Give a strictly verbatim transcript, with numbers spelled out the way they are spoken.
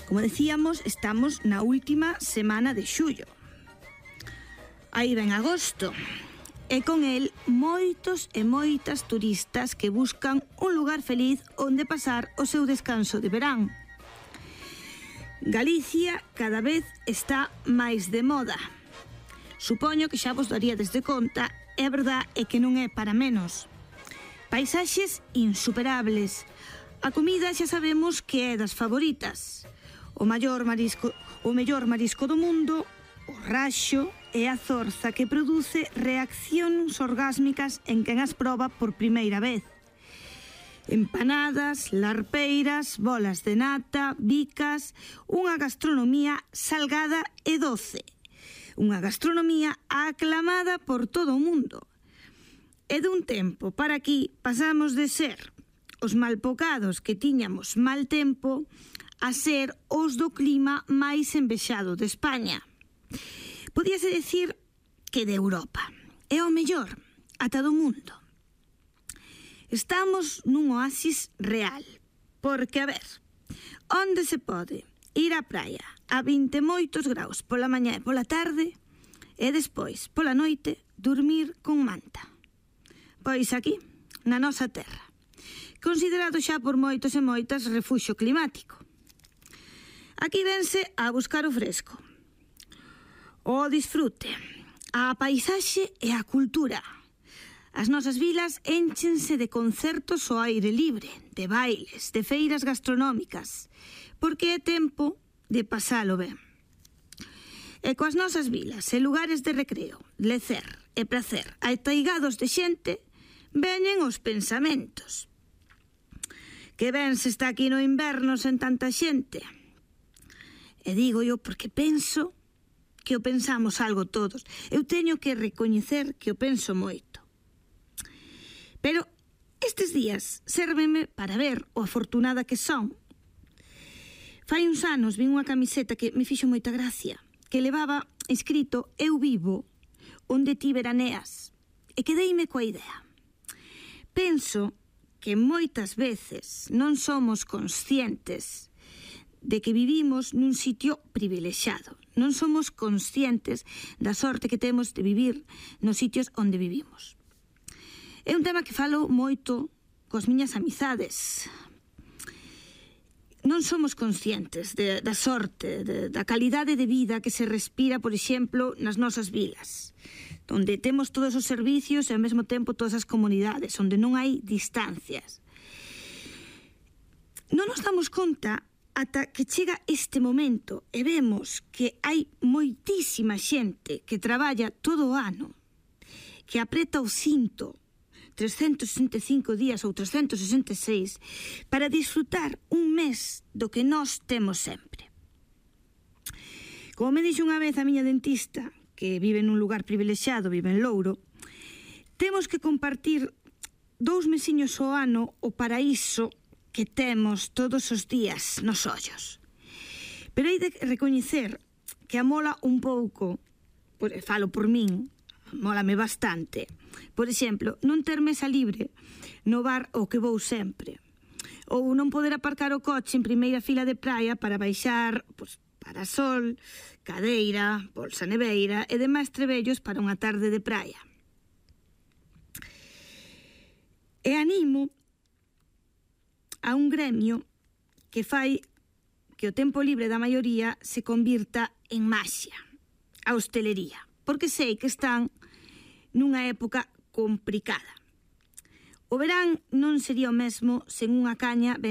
Como decíamos, estamos na última semana de xullo. Aí ven agosto. E con el moitos e moitas turistas que buscan un lugar feliz onde pasar o seu descanso de verán. Galicia cada vez está máis de moda. Supoño que xa vos daríades de conta, e a verdad é que non é para menos. Paisaxes insuperables. A comida xa sabemos que é das favoritas. O maior marisco, o mellor marisco do mundo, o raxo e a zorza que produce reaccións orgásmicas en quen as proba por primeira vez. Empanadas, larpeiras, bolas de nata, bicas, unha gastronomía salgada e doce. Unha gastronomía aclamada por todo o mundo. E dun tempo para aquí pasamos de ser os malpocados que tiñamos mal tempo a ser os do clima máis envexado de España. Podíase decir que de Europa. É o mellor, ata do mundo. Estamos nun oasis real, porque, a ver, onde se pode ir á praia a vinte e moitos graus pola mañá e pola tarde e despois, pola noite, dormir con manta? Pois aquí, na nosa terra, considerado xa por moitos e moitas refuxio climático. Aquí vense a buscar o fresco, o disfrute, a paisaxe e a cultura. As nosas vilas énchense de concertos ao aire libre, de bailes, de feiras gastronómicas, porque é tempo de pasalo ben. E coas nosas vilas e lugares de recreo, lecer e pracer ataigados de xente, veñen os pensamentos. Que ben se está aquí no inverno sen tanta xente. E digo eu porque penso que o pensamos algo todos. Eu teño que recoñecer que o penso moito. Pero estes días sérveme para ver o afortunada que son. Fai uns anos vin unha camiseta que me fixo moita gracia, que levaba escrito "Eu vivo onde ti veraneas", e quedeime coa idea. Penso que moitas veces non somos conscientes de que vivimos nun sitio privilexiado. Non somos conscientes da sorte que temos de vivir nos sitios onde vivimos. É un tema que falo moito coas miñas amizades. Non somos conscientes de, da sorte, de, da calidade de vida que se respira, por exemplo, nas nosas vilas, onde temos todos os servicios e ao mesmo tempo todas as comunidades, onde non hai distancias. Non nos damos conta ata que chega este momento e vemos que hai moitísima xente que traballa todo o ano, que apreta o cinto trescentos sesenta e cinco días ou trescentos sesenta e seis para disfrutar un mes do que nós temos sempre. Como me dixo unha vez a miña dentista, que vive nun lugar privilexiado, vive en Louro, temos que compartir dous mesiños ao ano o paraíso que temos todos os días nos ollos. Pero hai de recoñecer que amola un pouco, por, falo por min, amólame bastante, por exemplo, non ter mesa libre no bar ao que vou sempre, ou non poder aparcar o coche en primeira fila de praia para baixar pois, parasol, cadeira, bolsa neveira e demais trebellos para unha tarde de praia. E animo a un gremio que fai que o tempo libre da maioría se convirta en maxia, a hostelería, porque sei que están nunha época complicada. O verán non sería o mesmo sen unha caña ben